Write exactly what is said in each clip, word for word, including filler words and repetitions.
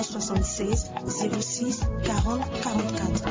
soixante-seize, zéro six, quarante, quarante-quatre.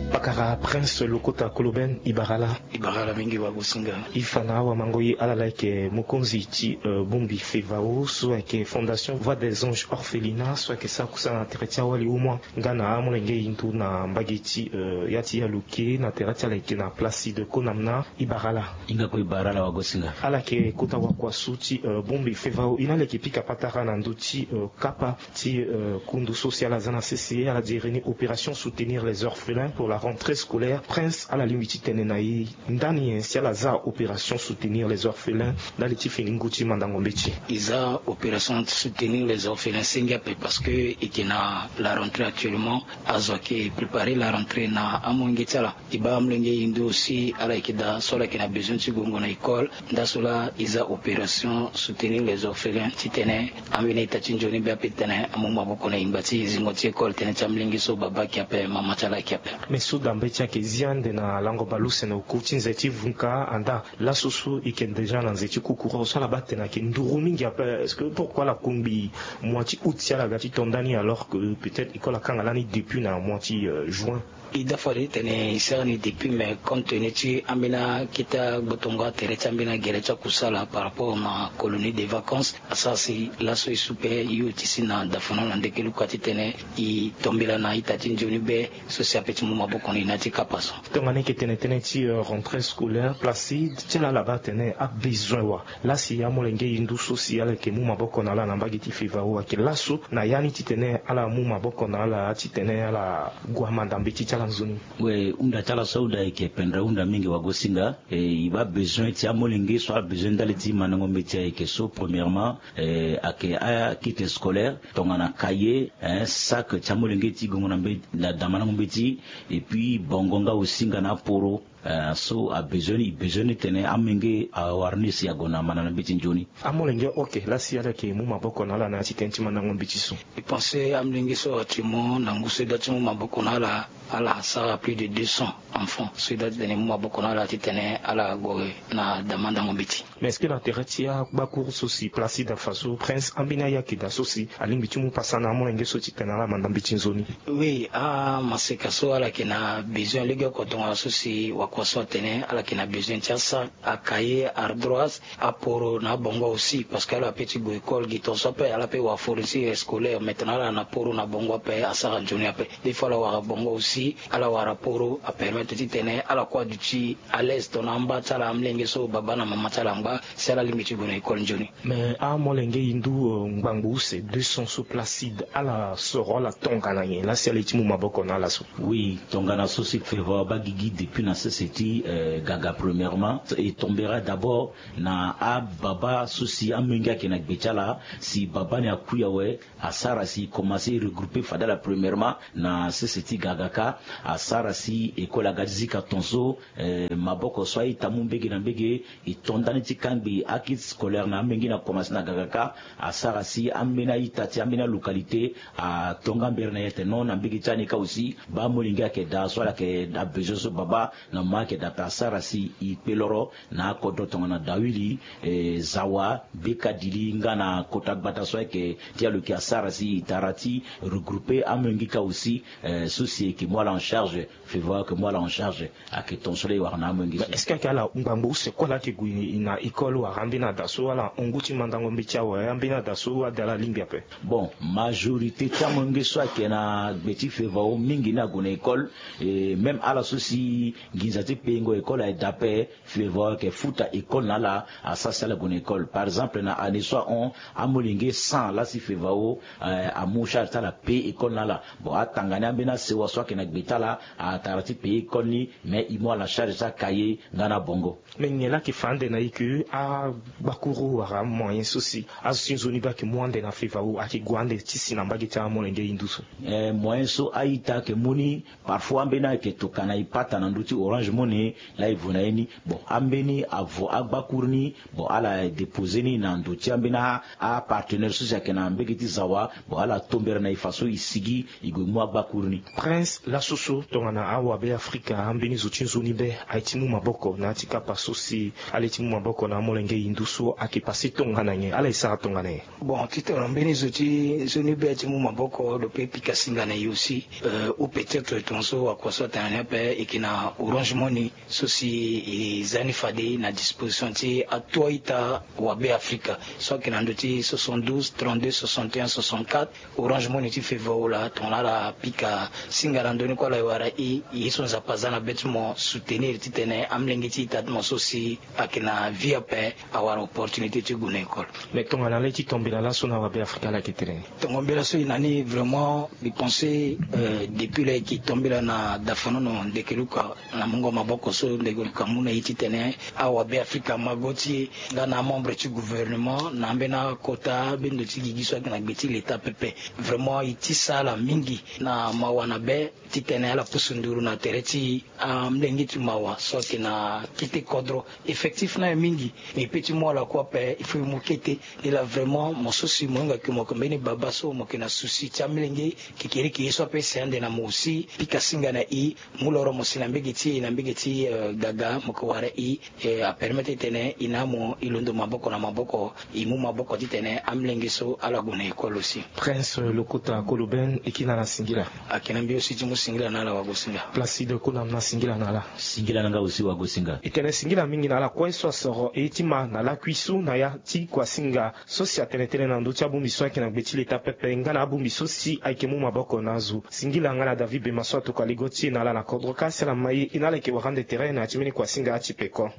Pakara Prince Lokota Koloben, i bara ala. I bara ala mingi wagosinga. I fa na awamango ye ala laa ayeke mokonzi ti, euh, bongbi Fevao so ayeke Fondation Voix des Anges Orphelinat so ayeke sara kusala na tere ti awali umua nga na amolenge hindu na mbage ti, euh, ya ti Yaluke na tere ti ala yeke na Placide Konamna. I bara ala. Hinga kue i bara ala wagosinga. Ala yeke kota wakua so ti, euh, bongbi Fevao, i na ala yeke pika patara na ndö ti, euh, kapa ti, euh, kundu so si ala za na sese, ala diri ni opération soutenir les orphelins pour la rentrée scolaire. Prince, ala lingbi ti tene na e ndani nyen si ala za opération soutenir les orphelins ndali ti fini ngu ti mandango mbeti? I za opération soutenir les orphelins senge ape parce que e yeke na la rentrée actuellement. Azo ayeke préparer la rentrée na amolenge ti ala. E baa amolenge hindu aussi, ala yeke daa so ala yeke na besoin ti gongo na école. Nda so laa e za opération soutenir les orphelins titene ambeni ita ti nzoni be ape titene amu maboko na yingba ti zingo ti école tënë ti amolenge so baba ayeke ape, mama ti ala ayeke ape. Mais so da mbeti ayeke zi ande na lango baleuse na oku ti nze ti vunka anda, laso so e yeke déjà na nze ti kukuru so ala baa tene ayeke nduru mingi ape. Est-ce que pourquoi ala kungbi mois ti août si ala ga ti to nda ni alors que peut-être école akanga lani depuis na mois ti, euh, juin? E daa fade titene e sara ni depuis, mais compte tenu ti ambeni akete agbotongo atere ti ambeni agere ti akusala par rapport na colonie de vacances, asara si laso e su pe e oti si na dafana na ndeke luka titene e tombela na ita ti nzoni be so si ape ti mu maboko na e na ya ti kapa so. Tongana e yeke tene tënë ti, euh, rentrée scolaire, Placide, ti ala ala baa tene abesoin wa? Laa si amolenge hindu so si ala yeke mu maboko na ala na mbage ti Fevao ayeke laso na ya ni titene ala mu maboko na ala titene ala gue amanda mbeti ti ala nzoni? We, hunda ti ala so ahunda ayeke pendere hunda mingi wagosinga. E, e baa besoin ti amolenge so abesoin ndali ti mandango mbeti ayeke so, premièrement, e, ayeke akit scolaire, tongana cahier, eh, sac ti amolenge ti gongo na mbe-, na da mandango mbeti, et puis bongo nga aussi nga na aporo. Eh, so abesoin ni, e besoin ni tene amolenge awara ni si ague na manda na mbeti nzoni. Amolenge, ok, laa si ala yeke mu maboko na ala na ya ti tënë ti mandango mbeti so? E pense amolenge so actuellement na ngu so e da ti mu maboko na ala, ala sara plus de deux cents enfants so e da ti tene e mu maboko na ala titene ala gue na da mandango mbeti. Mais est-ce que na tere ti agbakuru so si Placide afa so, Prince, ambeni aya ayeke daa so si alingbi ti mu pasa na amolenge so titene ala manda mbeti nzoni? Oui, amaseka so ala yeke na besoin lege oko tongana so si wakua so atene, ala yeke na besoin ti asa, acahier, ardoise, aporo na abongo aussi, parce que ala pe ti gue école gi tongaso ape, ala pe wara fourniture scolaire. Maintenant ala na poro na bongo ape, asara nzoni ape. Des fois ala wara bongo aussi, ala wara poro, apermettre titene ala kue aduti à l'aise tongana amba ti ala, amolenge so baba na mama ti ala angba, si ala lingbi ti gue na école nzoni. Mais amolenge hindu, euh, ngbangbo use deux cents so Placide, ala soro ala tongana nyen laa si ala ye ti mu maboko na ala so? Oui, tongana so si Fevao abaa gigi depuis na sese ti, euh, Gaga premièrement, e tombera d'abord na ababa so si amolenge ayeke na gbe ti ala. Si baba ni akui awe, asara si e commencer regrouper fade ala premièrement na sese ti Gagaka. Asara si école aga ti zika tongaso, eh, maboko so a-ita amu mbege na mbege, e to ndani ti kangbi akit scolaire na amolenge ni akomanse na Gagaka. Asara si ambeni a-ita ti ambeni alocalité ato nga mbere na e atene non, na mbege ti ala ni kâ aussi baa amolenge ayeke daa so ala yeke daa besoin so baba na mama ayeke daa ape. Asara si e kpe loro na akodro tongana Dawili, eh, Zawa, Bekadili nga na kota gbata so ayeke ti Yaluke. Asara si e tara ti regrouper amolenge kâ aussi, eh, so si e yeke mu ala en charge. Fevao ayeke mu ala en charge. Ayeke tongaso laa e wara na amolenge so. Est-ce que ayeke ala ngbangbo use kue laa ayeke gue na école wala ambeni ada so ala hon ngu ti mandango mbeti awe, ambeni ada so ade ala lingbi ape? Bon, majorité ti amolenge so ayeke na gbe ti Fevao mingi ni ague na école. Et même ala so si nginza ti payer-ngo école aye daa ape, Fevao ayeke futa école na ala, asara si ala gue na école. Par exemple na année so ahon, amolenge cent laa si Fevao, eh, amu charge ti ala payer école na ala. Bon, atanga ni ambeni asewa so ayeke na gbe ti ala, atara ti payer école ni, mais e mu ala charge ti acahier nga na abongo. Mais nyen laa ayeke fa ande na e ke agbakuru wala amoyen so si azo ti nzoni be ayeke mu ande na Fevao ayeke gue ande ti si na mbage ti amolenge hindu so? Eh, moyen so a-ita ayeke mu ni, parfois ambeni ayeke tokua na e pata na ndö ti Orange Moni laa e vo na ye ni. Bon, ambeni avo agbakuru ni, bon, ala dépose ni na ndo ti ambeni apartenaire so si ayeke na mbege ti zawa. Bon, ala tombera na e faso e sigi e gue mu agbakuru ni. Prince, laso so tongana awabe afrika ambeni zo ti nzoni be aye ti mu maboko na ya ti kapa so si ale ti mu maboko na amolenge hindu so ayeke pase tongana nyen, ala e sara tongana nyen? Bon, titene mbeni zo ti nzoni be aye ti mu maboko lo pe pika singa na e aussi. Euh, ou peut-être tongaso wakua so atene na ni ape e yeke na Orange Money so si e za ni fade na disposition ti atua ita wabe afrika so ayeke na ndö ti soixante-douze trente-deux soixante et un soixante-quatre. Orange Money ti feve ola tongana ala pika singa na ndö ni kue ala e wara e, ye so nzapa aza na be ti mo soutenir titene amolenge ti ita ti mo so si ayeke na vie ape awara opportunité ti gue na école. Mais tongana le ti tombela laso na wabe afrika ala yeke tene ni? Tongo mbela so e na ni vraiment, mbi pense, euh, depuis la e yeke tombela na dafanono ndeke luka na mungo maboko so ndeke luka amu na e titene awabe afrika amago ti e nga na amembre ti gouvernement na ambeni akota ambeni ndo ti gigi so ayeke na gbe ti leta pepe. Vraiment e tisa ala mingi na mawa na be titene ala pusu nduru na tere ti amolenge ti mawa so ayeke na kete kodro. Effectif ni aye mingi, mais e pe ti mu ala kue ape il faut e mu kete. Ni laa vraiment mo so si mo hinga ke mo yeke mbeni baba so mo yeke na souci ti amolenge kekereke ye so ape si ande na mo aussi pika singa na e, mu loro mo si na mbege ti e na mbege ti, euh, gaga mo yeke wara e, euh, apermettre titene e na amo e londo maboko na maboko, e mu maboko titene amolenge so ala gue na école aussi. Prince lokota koloben, e kiri na ala singila. Ayeke na mbi aussi ti mu singila na ala wagosinga. Placide Konam na singila na ala. Singila na nga aussi wagosinga. E tene singila mingi na ala kue so asoro e ye ti ma na lakui so na ya ti kuasinga so si atene tënë na ndö ti abongbi so ayeke na gbe ti leta pepe nga na abongbi so si ayeke mu maboko na azo. Singila nga na David Bema so atokua ligo ti e na ala na kodro ka si ala ma ye, e na ala yeke wara ande tere na ya ti mbeni kuasinga ti peko.